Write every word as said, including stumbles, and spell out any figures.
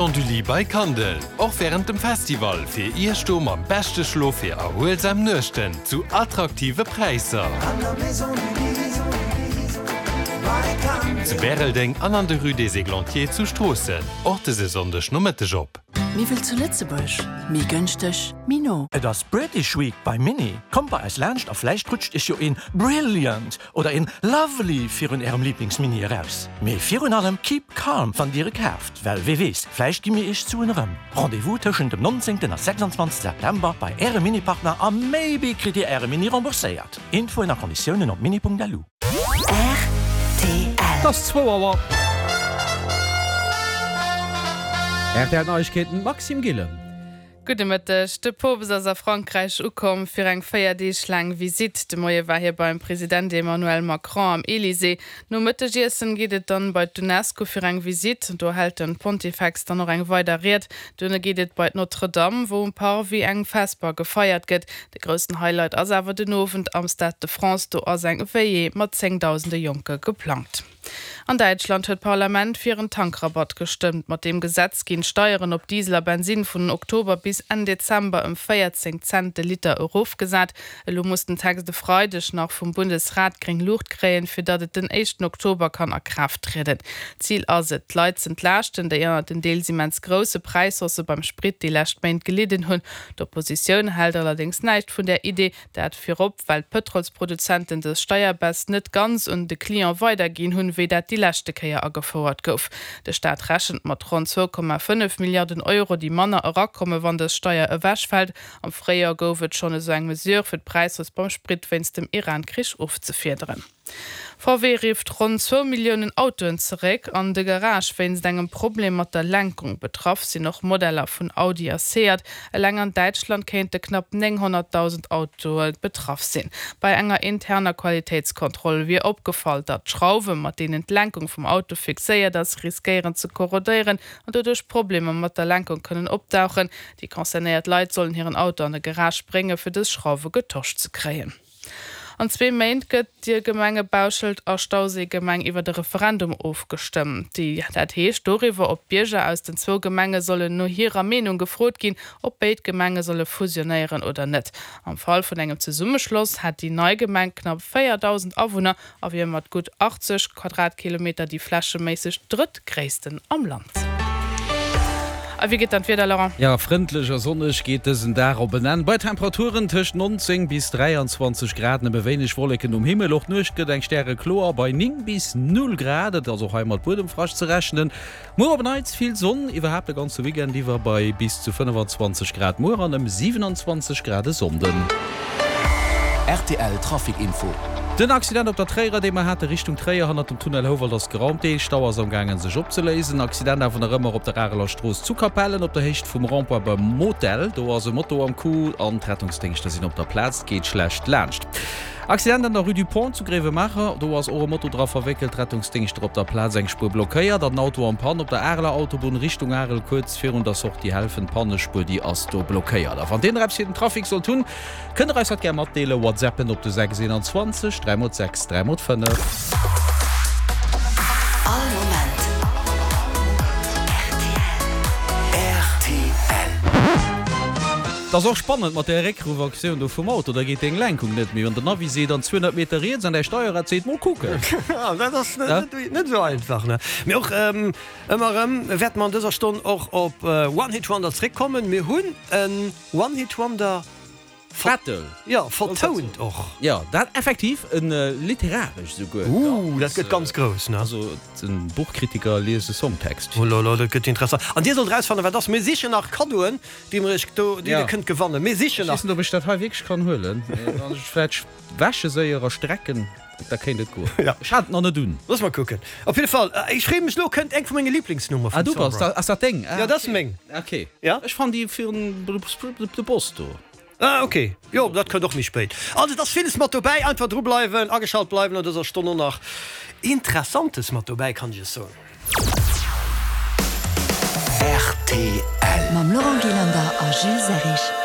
Maison du Lit by Kandel, och wärend dem Festival fir Iech do mam beschte Schlof fir erhuelsam Nuechten zu attraktive Präisser. Zu Bäreldeng an an der Rue des Églantiers zu Stroossen, och dëse Sonndeg Nomëtteg op. Méi wéi zu Lëtzebuerg, méi gënschteg, méi no. Et ass British Week bei Mini. Kommt bei eis laanscht a vläicht rutscht iech jo een Brilliant oder een Lovely virun ärem Lieblingsmini eraus. Mee virun allem keep calm wann dir e kaaft, well wie weess, vläicht gi mir iech d'Suen erëm. Rendez-vous tëschent dem nonzéngten a sechsanzwanzegste September bei ärem Mini-Partner a maybe kritt dir äre Mini rembourséiert. Infoen a Konditiounen op mini Punkt L U. R T L. Et ass zwou Auer. R T L Neiegkeeten, Maxime Gillen. Gudde Mëtteg. De Poopst ass a Frankräich ukomm fir eng véier Deeg laang Visitt. De Moie war hie beim President Emmanuel Macron am Elysée. Nom Mëttegiessen geet et dann bei d'UNESCO fir eng Visitt. Do hält den Pontifex dann nach eng weider Ried. Duerno geet et bei Notre-Dame, wou um Parvis eng Vesper gefeiert gëtt. De groussen Highlight ass awer den Owend am Stade de France, do ass eng Veillée mat zéngdausende Jonke geplangt. An Däitschland huet d'Parlament fir en Tankrabatt gestëmmt. Mat deem Gesetz ginn d'Steieren op Diesel a Bensin vun Oktober bis Enn Dezember ëm véierzéng Cent de Liter erofgesat. Elo muss den Text de Freideg nach vum Bundesrat gréng Luucht kréien, fir datt et den éischten Oktober kann a Kraaft trieden. Zil ass et, d'Leit z'entlaaschten, déi ënner den deels immens grousse Präishaussë beim Sprit déi lescht Méint gelidden hunn. D'Oppositioun hält allerdéngs näischt vun där Idee, dat virop, well d'Pëtrolsproduzenten dës Steierbaisse net ganz un de Client weiderginn hunn, wéi dat déi leschte Kéier agefouert gouf. De Staat rechent mat ronn zwou Komma fënnef Milliarden Euro, déi manner erakommen, wann dës Steier ewechfält. Am Fréijoer gouf et schonn esou eng Mesure fir d'Präishausse beim Sprit wéinst dem Iran-Krich ofzefiederen. V W rifft ronn zwou Milliounen Autoen zeréck an de Garage wéinst engem Problem mat der Lenkung. Betraff sinn och Modeller vun Audi a Seat. Eleng an Däitschland kéinte knapp nénghonnertdausend Autoe betraff sinn. Bei enger interner Qualitéitskontroll wier opgefall, datt d'Schrauwe mat deenen d'Lenkung vum Auto fixéiert ass, riskéieren ze korrodéieren an doduerch Problemer mat der Lenkung kënnen opdauchen. Déi concernéiert Leit sollen hiren Auto an de Garage bréngen, fir dës Schrauwe getosch ze kréien. An zwee Méint gëtt déi Gemenge Bauschelt a Stauséigemeng iwwer de Referendum ofgestëmmt. Déi dat heescht doriwwer, ob d'Bierger aus den zwou Gemenge sollen no hirer Meenung gefrot ginn, ob béid Gemenge solle fusionéieren oder net. Am Fall vun engem Zesummeschloss hätt déi nei Gemeng knapp véierdausend Awunner a wier mat gutt achtzeg Quadratkilometer déi flächeméisseg drëttgréissten am Land. A wéi geet dann d'Wieder, Laurent? Ja, frëndlech a sonneg geet dësen Dag op en Enn. Bei Temperaturen tëscht nonzéng bis dräianzwanzeg Grad, nëmme wéineg Wolleken um Himmel. Och d'Nuecht gëtt eng stärekloer bei néng bis null Grad. Et ass och hei mat Buedemfrascht ze rechnen. Muer op en Neits vill Sonn, iwwerhaapt de ganze Weekend iwwer bei bis zu fënnefazwanzeg Grad muer an ëm siwenanzwanzeg Grad e Sonnden. R T L Trafic Info. Den Accident op der Tréierer, dee mer hate Richtung Tréier hannert dem Tunnel Houwald ass geraumt. Dee Stau ass am gaangen sech opzeléisen. Accident awer nach ëmmer op der Areler Strooss zu Capellen op der Héicht vum Rond-point beim Motel. Do ass e Moto am Coup an d'Rettungsdéngschter sinn op der Plaz, geet schlecht laanscht. Accident an der Rue du Pont zu Gréiwemaacher, do ass och e Moto dra verwéckelt, Rettungsdéngschter op der Plaz, eng Spuer blockéiert. An Auto en panne op der Areler Autobunn Richtung Arel kuerz virun der Sortie Helfen, d'Pannespuer déi ass do blockéiert. A wann dir nach eppes fir den Trafic sollt hunn, kënnt der eis dat gär matdeelen, WhatsAppen op de sechs eenanzwanzeg dräi mol sechs dräi mol fënnef. All Moment R T L. R T L. Dat ass och spannend mat där Réckruffaktioun do vum Auto, da geet deng Lenkung net méi an den Navi seet an zweehonnert Meter riets an däi Steierrad seet mol kucken. Dat ass net net esou einfach, ne? Mee och ëmmer erëm wäerte mer an dëser Stonn och op One Hit Wonder zréckkommen. Mir hunn en One Hit Wonder Battle. Jo, vertount och. Jo, dat effektiv, en literaresch souguer. Ooh, dat gëtt ganz grouss, ne? Also den Buchkritiker liest e Songtext. Oh là là, dat gëtt interessant. An dir sollt erausfannen, wat ass. Mir sichen nach Kaddoen, déi mer iech do, déi dir kënnt gewannen. Mir sichen nach. Ech weess net, ob ech dat hei wierklech kann huelen. Wann ech et vläicht wäsche séier a strecken, da kéint et goen. Ech hat et nach net un. Looss mer kucken. Op jidde Fall, ech freeë mech, elo kënnt eng vu menge Liblingsnummer vum Summer. Ah, du bass, ass dat deng? Jo, dat ass meng. Ok. Ja. Ech fannen déi virun de Boss do. Ah ok, jo dat kënnt och méi spéit. Also et ass villes mat dobäi, einfach dru bleiwen, ageschalt bleiwen an dëser Stonn och nach Interessantes mat dobäi, kann ech iech soen. R T L. Mam Laurent Gillander a Jules Serrig.